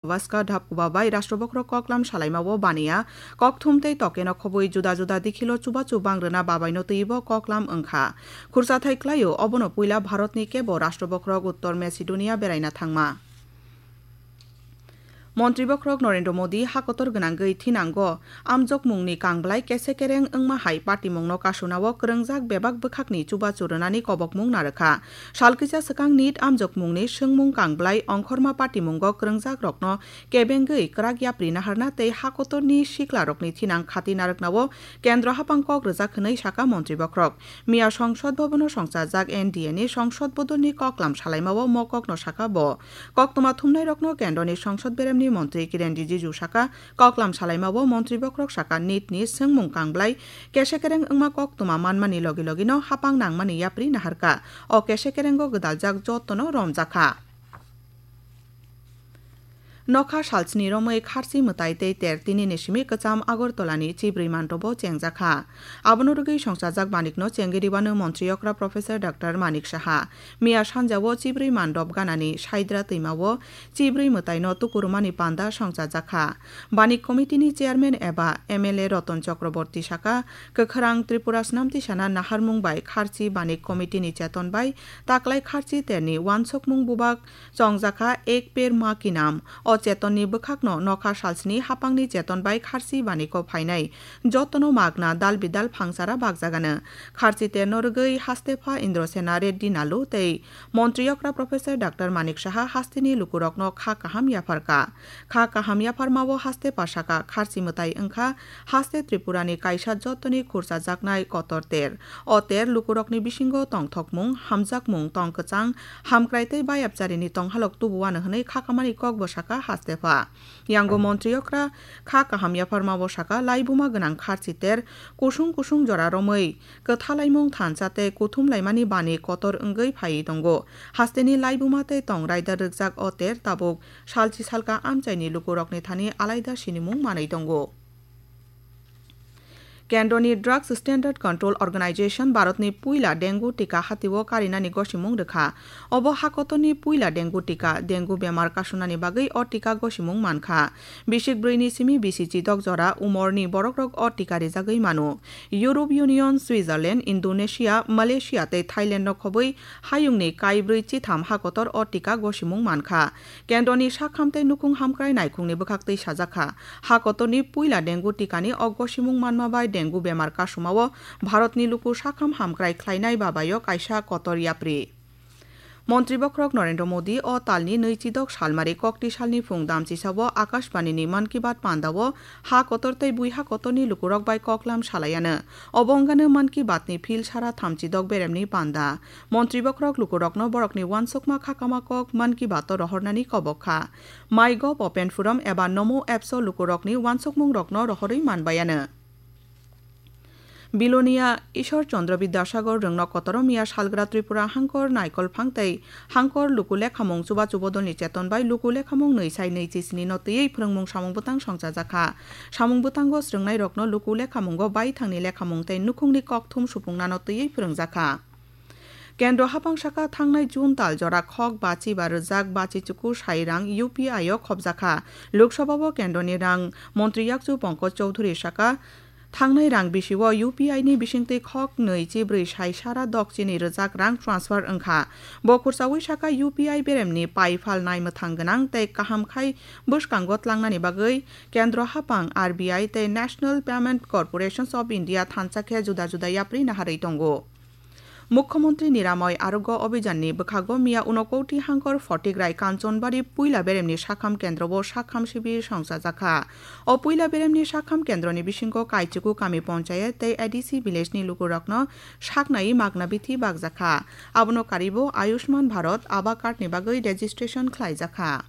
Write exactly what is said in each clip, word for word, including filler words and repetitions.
Vaska Dapkuba bai Rashtrabokhrok koklam salaimao baniya kokthum tei tokeno khobwi juda juda dikhilo chubachu bangrwna babaino twibo koklam wngkha. Khursathai klaio, obono puila Bharatni kebo Rashtrabokhrok Uttor Macedonia beraina thangma. Montri bokhorok Narendra Modi hakotor gwnangwi thinango amjokmungni kangblai kese kereng wngma hai patimungno kasunao kwrwngjak bebak bwkhakni chubachu rwnani kobokmung narwkha. Salkisa swkang nit amjokmungni swngmung kangblai ongkhorma patimungo kwrwngjakrokno kebengwi kwrak yapri naharna tei hakotorni siklarokni thinang khati narwknao kendro haphang kok rwjak hwnwi saka montri bokhorok. Miya Songsod Bhabono songchajak N D A ni songsod bodolni koklam salaimao mokokno saka bo. Koktwma thumnairokno kendroni songsod beremni montri Kiren Rijiju saka, koklam salaimao montri bokhorok saka nitni swngmung kangblai kese kereng wngma koktwma manmani logi logino haphang nangmani yapri naharkha. O kese kerengo gwdaljak jotono romjakha. Nokha salsni romwi kharchi mwtai tei ter tinini simi kwcham Agartala ni chibrwi mantobo chengjakha. Abono rwgwi songchajak manikno chengwi rwbano montri okra Professor Doctor Manik Saha. Miya sanjao chibrwi mandop ganani Saidra twimao chibrwi mwtaino tukurumani panda songchajakha. Banik committee ni chairman eba M L A Ratan Chakraborty saka, kwkhwrang Tripura snamti sana naharmung bai kharchi banik committee ni cheton bai taklai kharchi terni wansukmung bubak chongjakha Ek Ped Maa Ki Naam. O chetonni bwkhakno nokha salsni haphangni cheton bai kharchi baniko phainai jotono magna dal bidal phangsara bakjagano. Kharchi terno rwgwi hastepha Indrasena Reddy Nalu tei montri okra Professor Doctor Manik Saha hasteni lukurokno kha kaham yapharkha. Kha kaham yapharmao hastepha saka kharchi mwtai wngkha haste Tripurani kaisa jotoni khurchajaknai kotor ter. O ter lukurokni bisingo tongthokmung, hamjakmung, tong kwchang, hamkrai tei bayapcharini tonghalok tubuano hwnwi khakamani kokbo saka hastepha. Yango montri okra kha kaham yapharmao saka laibuma gwnang kharchi ter kusung kusung jora romwi kwthalaimung thansa tei kuthumlaimani bani kotor wngwi phaiwi tongo. Hasteni laibuma tei tong raida rwkjak o ter tabuk salchi salka amchaini lukurokni thani alaida sinimung manwi tongo. Kendroni Drugs Standard Control Organization Bharatni puila dengue tika hatio karinani gosimung rwkha. Obo hakotorni puila dengue tika, dengue bemar kasunani bagwi o tika gosimung mankha. Bisik brwini simi bisi chidok jora umorni borokrok o tika rijagwi mano. Europe Union, Switzerland, Indonesia, Malaysia tei Thailand no khobwi hayungni kaibrwi chitham hakotor o tika gosimung mankha. Kendroni sakham tei nukhung hamkrai naikhungni bwkhaktwi sajakha, hakotorni puila dengue tikani o gosimung manma bai dengue bemar kasumao Bharatni luku sakham hamkrai khlainai babaio kaisa kotor yapri. Montri bokhorok Narendra Modi o talni nwichidok salmari kokti salni phung damchisao Akashbanini Mann Ki Baat pandao ha kotor tei bui ha kotorni lukurok bai koklam salaiano. Obo wngano Mann Ki Baatni phil sara thamchidok beremni panda. Montri bokhorok lukurokno borokni wansukma khakama kok Mann Ki Baat-o rohornani kobok kha. MyGov Open Forum eba Namo Apps-o lukurokni wansukmungrokno rohorwi manbaiano. Bilonia Ishwar Chandra Bidyasagar rwngno kotoro miya salgra Tripura hangkor naikolphang tei hangkor luku lekhamung chubachu bodolni cheton bai luku lekhamung nwi sai nwi chisni no twiwi phwrwngmung samung bwtang songchajakha. Samung bwtango swrwngnairokno luku lekhamungo baithangni lekhamung tei nukhungni kokthum supungnano twiwi phwrwngjakha. Kendro haphang saka thangnai June tal jora khok bachi ba rwjak bachi chuku sai rang U P I o khopjakha. Lok Sabha o kendroni rang montri yakchu Pankaj Chaudhary saka, thangnai rang bisio U P I ni bisingtwi khok nwi chibrwi sai sara dok chini rwjak rang transfer wngkha. Bo khursaui saka U P I beremni pai phal nai mwthang gwnang tei kaham khai bwskango tlangnani bagwi kendro haphang R B I tei National Payment Corporations of India thansa khe juda juda yapri naharwi tongo. Mukhyamantri Niramay Arogya Abhiyan ni bwkhago miya Unakoti hangkor Photigrai Kanchanbari puila beremni sakham kendro o sakham sibir songchajakha. O puila beremni sakham kendroni bisingo Kaichuku Kami Panchayat tei A D C village ni lukurokno saknai magna bithi bakjakha. Abono karibo Ayushman Bharat Aba card ni bagwi registration khlaijakha.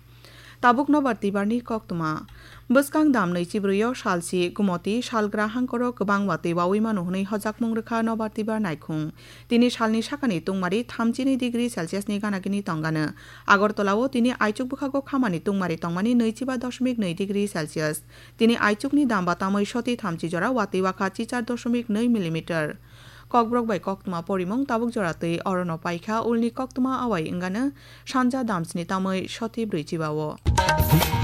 Tabuk nobar tibarni koktwma. Bwskang dam nwi chibrwi o salsi Gumoti salgra hangkoro kwbang watwi wawi mano hwnwi hojakmung rwkha nobar tibar naikhung. Tini salni sakani tungmari thamchini degree Celsius ni ganagini tongano. Agartala o tini aichuk bwkhago khamani tungmari tongmani nwichiba doshmik nwi degree Celsius. Tini aichukni damba tamwi soti thamchi jora watwi wakha chichar doshmik nwi millimeter. Kokborok bai koktwma porimung tabuk jora twi orono paikha, ulni koktwma awai wngano sanja damsni tamwi soti brwichiba o.